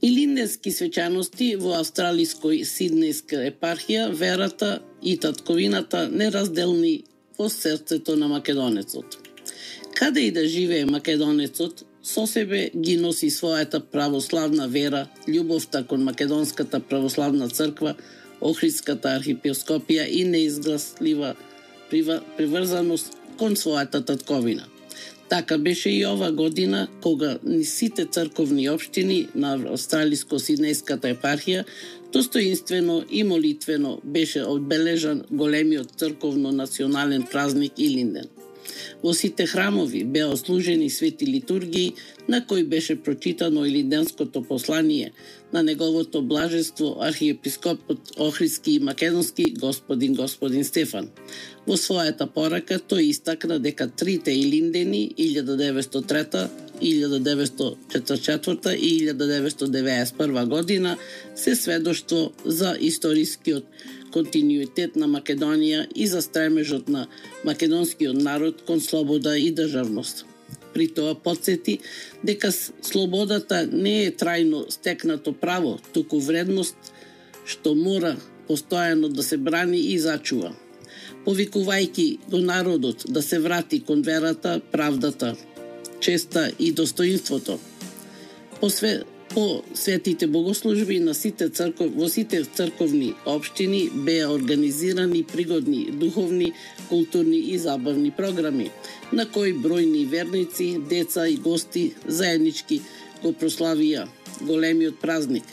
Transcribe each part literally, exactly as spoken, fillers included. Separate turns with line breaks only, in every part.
Илинденски свечаности во австралиској Сиднејска епархија, верата и татковината неразделни во срцето на македонецот. Каде и да живее македонецот, со себе ги носи својата православна вера, љубовта кон Македонската православна црква, Охридската архиепископија и неизгласлива приврзаност кон својата татковина. Така беше и ова година, кога ни сите црковни општини на австралиско-сиднејската епархија достоинствено и молитвено беше одбележан големиот црковно-национален празник Илинден. Во сите храмови беа ослужени свети литургии, на кои беше прочитано илинденското послание на неговото блажество архиепископот Охридски и Македонски господин господин Стефан. Во својата порака тој истакна дека трите Илиндени илјада деветстотини и трета, илјада деветстотини и четиридесет и четврта и илјада деветстотини и деветдесет и прва година се сведоштво за историскиот континуитет на Македонија и за стремежот на македонскиот народ кон слобода и државност. При тоа потсети дека слободата не е трајно стекнато право, туку вредност што мора постојано да се брани и зачува, повикувајќи до народот да се врати кон верата, правдата, честа и достоинството. По, све, по светите богослужби на сите црков, во сите црковни општини беа организирани пригодни духовни, културни и забавни програми, на кои бројни верници, деца и гости заеднички го прославија големиот празник.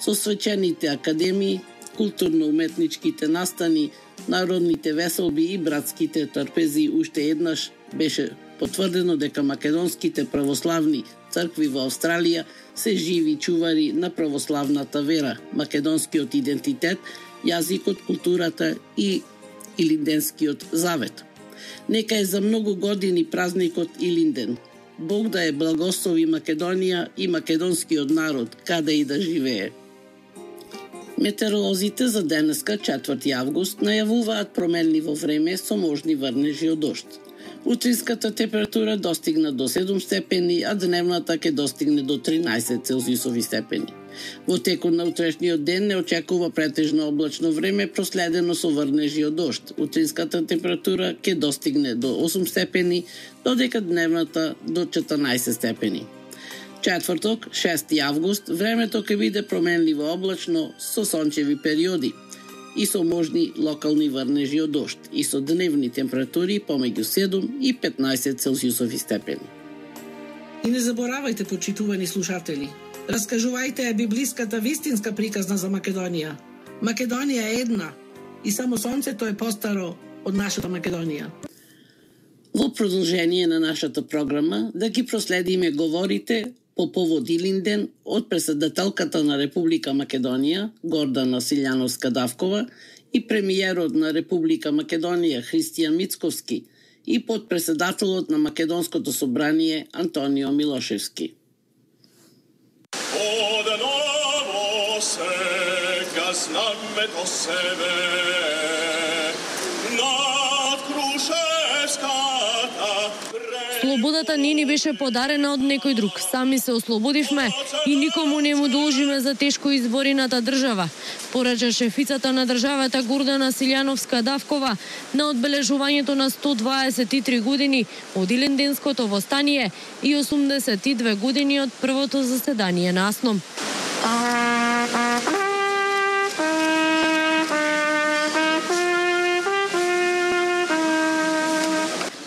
Со свечените академии, културно-уметничките настани, народните веселби и братските трпези уште еднаш беше потврдено дека македонските православни цркви во Австралија се живи чувари на православната вера, македонскиот идентитет, јазикот, културата и Илинденскиот завет. Нека е за многу години празникот Илинден. Бог да е благослови Македонија и македонскиот народ, каде и да живее. Метеоролозите за денеска, четврти август, најавуваат промени во време со можни врнежи од дожд. Утринската температура достигна до седум степени, а дневната ќе достигне до тринаесет целзиусови степени. Во текот на утрешниот ден не очекува претежно облачно време, проследено со врнежи од дожд. Утринската температура ќе достигне до осум степени, додека дневната до четрнаесет степени. Четврток, шести август, времето ќе биде променливо облачно со сончеви периоди и со можни локални врнежи од дожд и со дневни температури помеѓу седум и петнаесет целзиусови степени.
И не заборавајте, почитувани слушатели, раскажувајте библиската вистинска приказна за Македонија. Македонија е една и само сонцето е постаро од нашата Македонија.
Во продолжение на нашата програма да ги проследиме говорите по повод Илинден од председателката на Република Македонија Гордана Силјановска-Давкова и премиерот на Република Македонија Христијан Мицковски и подпредседателот на Македонското собрание Антонио Милошевски.
Одново сега знаме до себе над Крушевската.
Слободата не ни беше подарена од некој друг. Сами се ослободивме и никому не му должиме за тешко изборената држава, порача шефицата на државата Гордана Силјановска-Давкова на одбележувањето на сто дваесет и три години од Илинденското востание и осумдесет и две години од првото заседание на АСНОМ.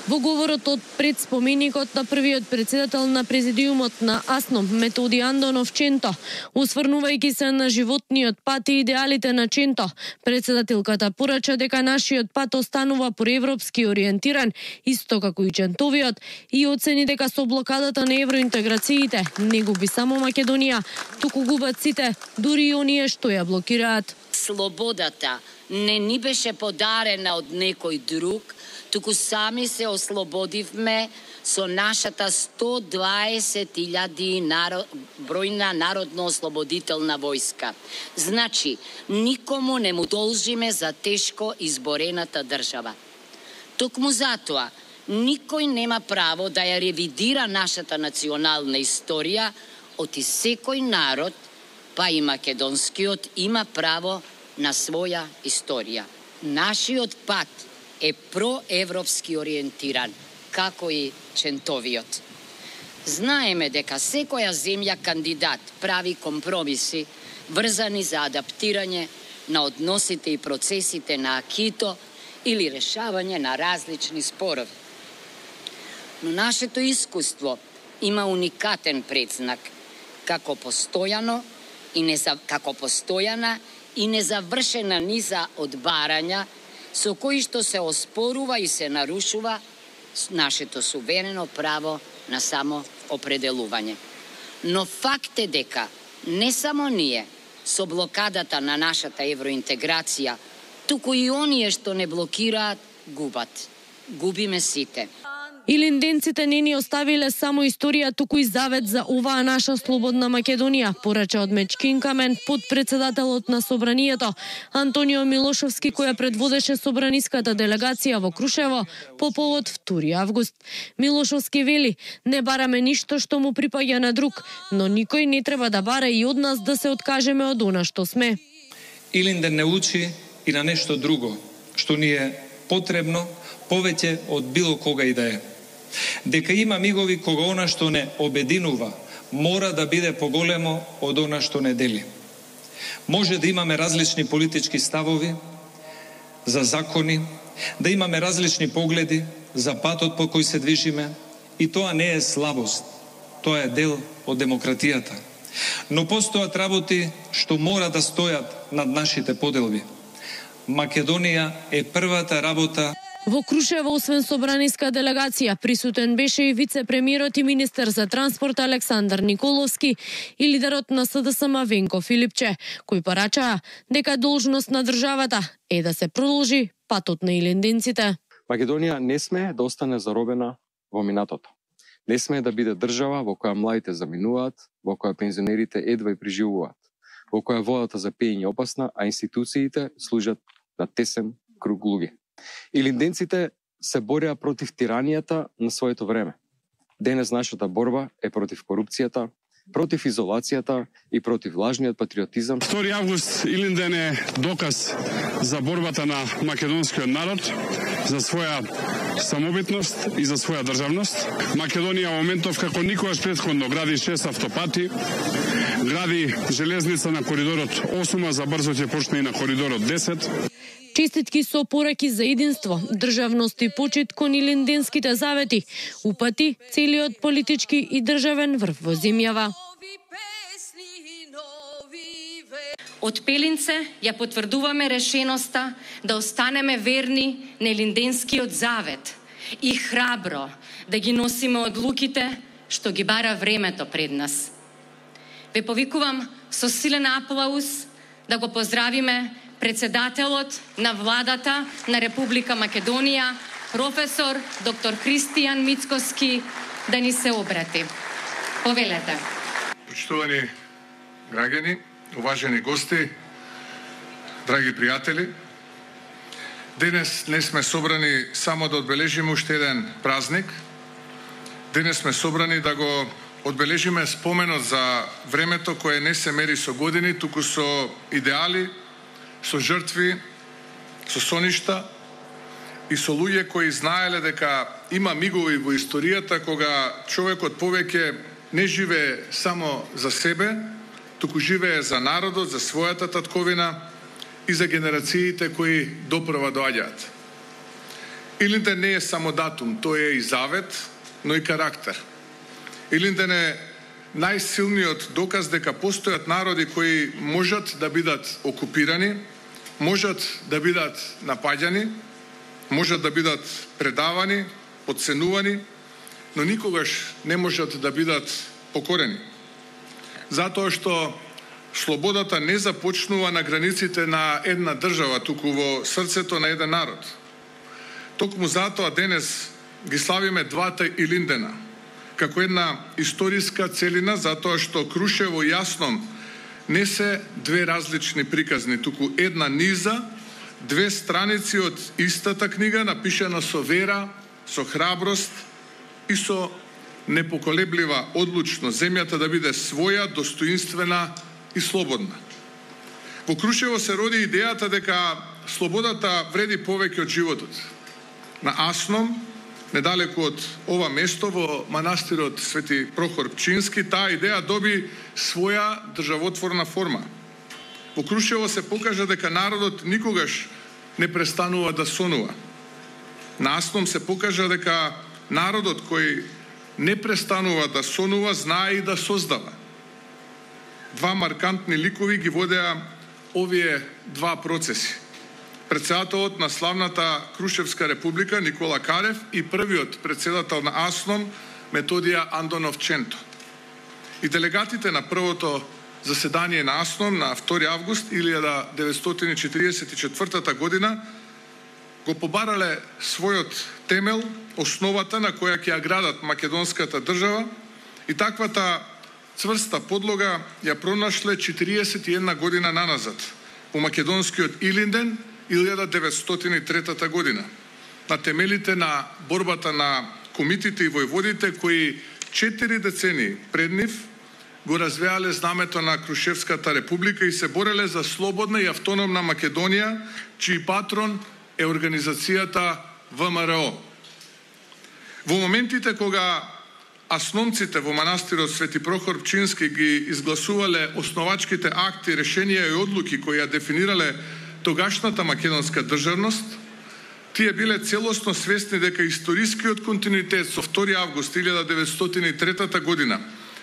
Во говорот од пред споменикот на првиот председател на президиумот на АСНОМ Методи Андонов Ченто, осврнувајќи се на животниот пат и идеалите на Ченто, председателката порача дека нашиот пат останува проевропски ориентиран, исто како и Чентовиот, и оцени дека со блокадата на евроинтеграциите не губи само Македонија, туку губат сите, дури и оние што ја блокираат.
Слободата не ни беше подарена од некој друг, туку сами се ослободивме со нашата сто дваесет илјади народ, бројна народно-ослободителна војска. Значи, никому не му должиме за тешко изборената држава. Токму затоа, никој нема право да ја ревидира нашата национална историја, оти секој народ па и македонскиот, има право на своја историја. Нашиот пат е проевропски ориентиран, како и Чентовиот. Знаеме дека секоја земја кандидат прави компромиси врзани за адаптирање на односите и процесите на акито или решавање на различни спорови. Но нашето искуство има уникатен предзнак како постојано и неза... како постојана и незавршена низа од барања со кои што се оспорува и се нарушува нашето суверено право на само определување. Но факт е дека не само ние со блокадата на нашата евроинтеграција, туку и оние што не блокираат, губат. Губиме сите.
Илинденците не ни оставиле само историја, туку и завет за оваа наша слободна Македонија, порача од Мечкин Камен, подпредседателот на Собранието, Антонио Милошовски, која предводеше собраниската делегација во Крушево по повод втори август. Милошовски вели: не бараме ништо што му припаѓа на друг, но никој не треба да бара и од нас да се откажеме од она што сме.
Илинден не учи и на нешто друго, што ни е потребно повеќе од било кога и да е. Дека има мигови кога она што не обединува мора да биде поголемо од она што не дели. Може да имаме различни политички ставови за закони, да имаме различни погледи за патот по кој се движиме, и тоа не е слабост, тоа е дел од демократијата. Но постојат работи што мора да стојат над нашите поделби. Македонија е првата работа.
Во Крушево, освен собраниска делегација, присутен беше и вице-премиерот и министер за транспорт Александар Николовски и лидерот на СДСМ Венко Филипче, кои порачаа дека должност на државата е да се продолжи патот на илинденците.
Македонија не сме да остане заробена во минатото. Не сме да биде држава во која младите заминуваат, во која пензионерите едва и преживуваат, во која водата за пиење е опасна, а институциите служат на тесен круг луѓе. Илинденците се борија против тиранијата на своето време. Денес нашата борба е против корупцијата, против изолацијата и против лажниот патриотизам.
втори август Илинден е доказ за борбата на македонскиот народ, за своја самобитност и за своја државност. Македонија во моментов како никогаш претходно гради шест автопати, гради железница на коридорот осум, а за брзо ќе почне и на коридорот десет.
Честитки со пораки за единство, државност и почит кон илинденските завети, упати целиот политички и државен врв во земјава.
Од Пелинце ја потврдуваме решеноста да останеме верни на илинденскиот завет и храбро да ги носиме одлуките што ги бара времето пред нас. Ве повикувам со силен аплауз да го поздравиме председателот на владата на Република Македонија, професор доктор Христијан Мицкоски, да ни се обрати. Повелете.
Почитувани граѓани, уважени гости, драги пријатели, денес не сме собрани само да одбележиме уште еден празник. Денес сме собрани да го одбележиме споменот за времето кое не се мери со години, туку со идеали, со жртви, со соништа и со луѓе кои знаеле дека има мигови во историјата кога човекот повеќе не живее само за себе, туку живее за народот, за својата татковина и за генерациите кои допрва доаѓаат. Илинден не е само датум, тој е и завет, но и карактер. Илинден е најсилниот доказ дека постојат народи кои можат да бидат окупирани, можат да бидат напаѓани, можат да бидат предавани, подценувани, но никогаш не можат да бидат покорени. Затоа што слободата не започнува на границите на една држава, туку во срцето на еден народ. Токму затоа денес ги славиме двата Илиндена, како една историска целина, затоа што Крушево и Јасном не се две различни приказни, туку една низа, две страници од истата книга, напишана со вера, со храброст и со непоколеблива одлучност земјата да биде своја, достоинствена, и слободна. Во Крушево се роди идејата дека слободата вреди повеќе од животот. На Асном, недалеку од ова место, во манастирот Свети Прохор Пчински, таа идеја доби своја државотворна форма. Во Крушево се покажа дека народот никогаш не престанува да сонува. На Асном се покажа дека народот кој не престанува да сонува, знае и да создава. Два маркантни ликови ги водеа овие два процеси. Председателот на славната Крушевска република Никола Карев и првиот председател на Асном Методија Андонов-Ченто. И делегатите на првото заседание на Асном на втори август илјада деветстотини четиридесет и четвртата година го побарале својот темел, основата на која ќе ја градат македонската држава, и таквата цврста подлога ја пронашле четириесет и една година наназад во македонскиот Илинден илјада деветстотини и трета година, на темелите на борбата на комитите и војводите кои четири децени пред нив го развеале знамето на Крушевската република и се бореле за слободна и автономна Македонија, чиј патрон е организацијата В М Р О. Во моментите кога асновците во манастирот Свети Прохор Пчински ги изгласувале основачките акти, решенија и одлуки кои ја дефинирале тогашната македонска државност, тие биле целосно свесни дека историскиот континуитет со втори август илјада деветстотини и трета година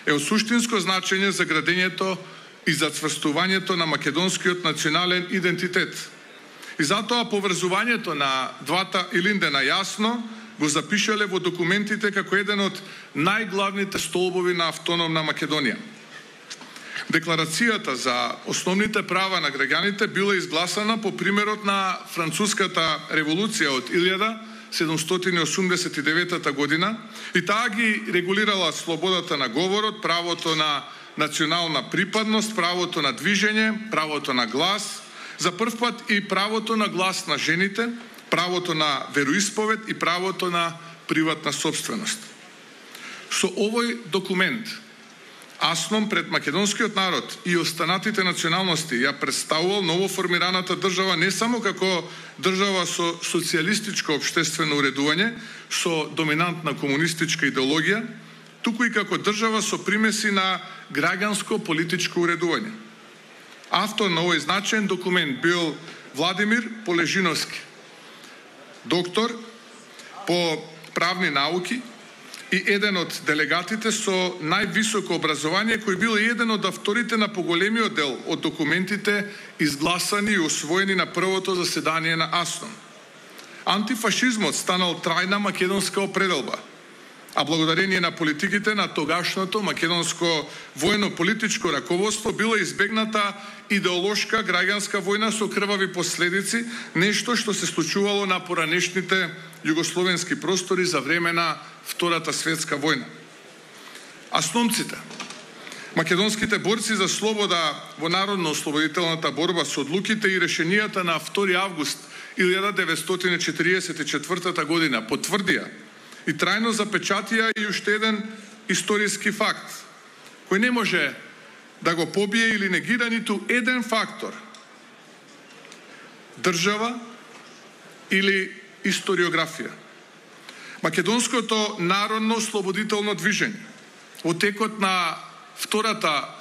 е од суштинско значење за градењето и зацврстувањето на македонскиот национален идентитет. И затоа поврзувањето на двата Илиндена јасно го запишале во документите како еден од најглавните столбови на автономна Македонија. Декларацијата за основните права на граѓаните била изгласана по примерот на Француската револуција од илјада седумстотини осумдесет и девета година и таа ги регулирала слободата на говорот, правото на национална припадност, правото на движење, правото на глас, за прв пат и правото на глас на жените, правото на вероисповед и правото на приватна собственост. Со овој документ Асном пред македонскиот народ и останатите националности ја представувал новоформираната држава не само како држава со социјалистичко општествено уредување, со доминантна комунистичка идеологија, туку и како држава со примеси на граѓанско-политичко уредување. Автор на овој значаен документ бил Владимир Полежиновски, доктор по правни науки и еден од делегатите со највисоко образование, кој бил еден од авторите на поголемиот дел од документите изгласани и усвоени на првото заседание на Асном. Антифашизмот станал трајна македонска определба, а благодарение на политиките на тогашното македонско војно-политичко раководство била избегната идеолошка граѓанска војна со крвави последици, нешто што се случувало на поранешните југословенски простори за време на Втората светска војна. Асновците, македонските борци за слобода во народно-ослободителната борба со одлуките и решенијата на втори август илјада деветстотини четиридесет и четвртата година потврдија и трајно запечатија и уште еден историски факт, кој не може да го побие или негира ниту еден фактор, држава или историографија. Македонското народно ослободително движење во текот на Втората